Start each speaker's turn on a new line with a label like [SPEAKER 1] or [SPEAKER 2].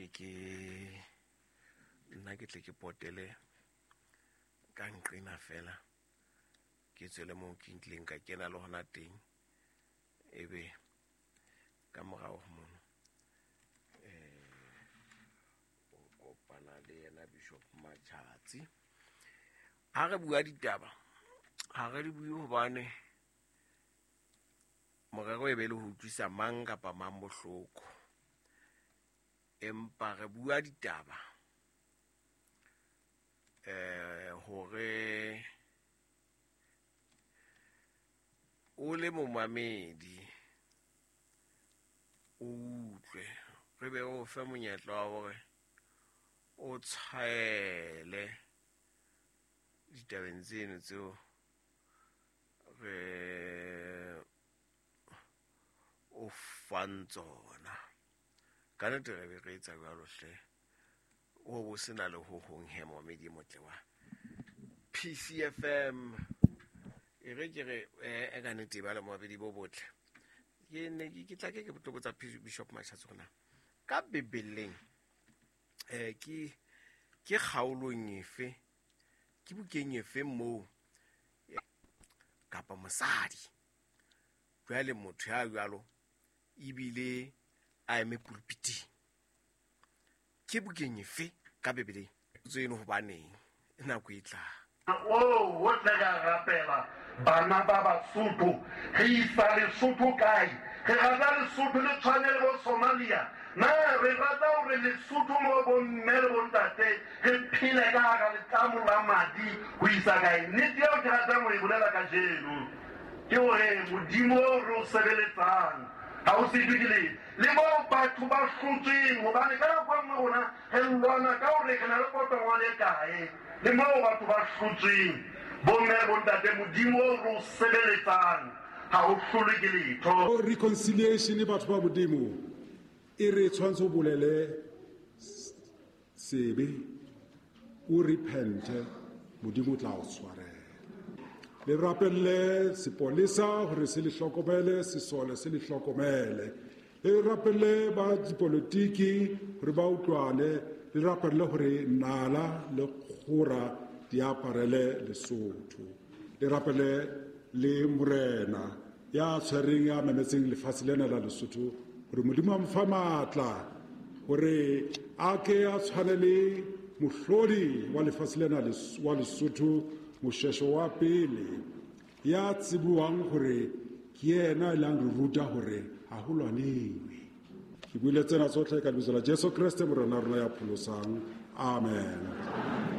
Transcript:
[SPEAKER 1] Ke ke nna ke tle ke potele ka nqena fela, ke tswele moo ke ntlileng ka kena le hona teng, ebe ka morao ho mono o kopana le yena Bishop Matjhatsi. Ha re bua ditaba, ha re di bue hobane morero e be le ho utlwisa mang kapa mang bohloko, empa re bua ditaba hore o le momamedi o utlwe, re be o fe monyetla wa hore o tshwaele ditabeng tseno tseo re o fang tsona. Ka nnete re be re etsa jwalo hle, o bo sena le ho hong he, momamedi e motle wa PCFM. E re ke re ka nnete e ba le momamedi bo botle. Ke ne ke tla ke tlo botsa Bishop Matjhatsi hore na ka Bibeleng ke kgaolong efe, ke bukeng efe moo kapa mosadi jwale motho ya jwalo ebile a eme pulpiting, ke bukeng efe ka Bibeleng tseno, hobaneng nako e tlang?
[SPEAKER 2] O o tle ka rapela bana ba Basotho, re isa Lesotho kae? Re rata Lesotho le tshwane le bo Somalia na? Re rata hore Lesotho mo bomme le bontate re phele ka hara letlamo la madi ho isa kae? Nnete eo ke ratang ho e bolela kajeno ke hore Modimo o re o sebeletsang ha o setwe ke letho, le moo batho ba hlotsweng, hobane ka nako e nngwe rona re lwana ka hore re na le potongwane e kae, le moo batho ba hlotsweng, bomme le bontate, Modimo o re o sebeletsang ha o hlolwe ke letho.
[SPEAKER 3] Reconciliation, batho ba Modimo, e re tshwanetse o bolele sebe, o repente, Modimo o tla o tshwarela. Le rapelle sepolesa hore se le hlokomele, sesole se le hlokomele, le rapelle ba dipolotiki hore ba utlwane, le rapelle hore nala le kgora di aparele Lesotho, le rapele le morena ya tshwereng, ya memetseng lefatshe lena la Lesotho, hore Modimo a mo fa matla hore a ke a tshwane le mohlodi wa lefatshe lena wa Lesotho, Moshweshwe wa pele, ya tsebuwang hore ke yena e lang re ruta hore ha ho lwanewe. Ke buile tsena tsohle ka lebitso la Jesu Kreste, Morena rona ya pholosang. Amen.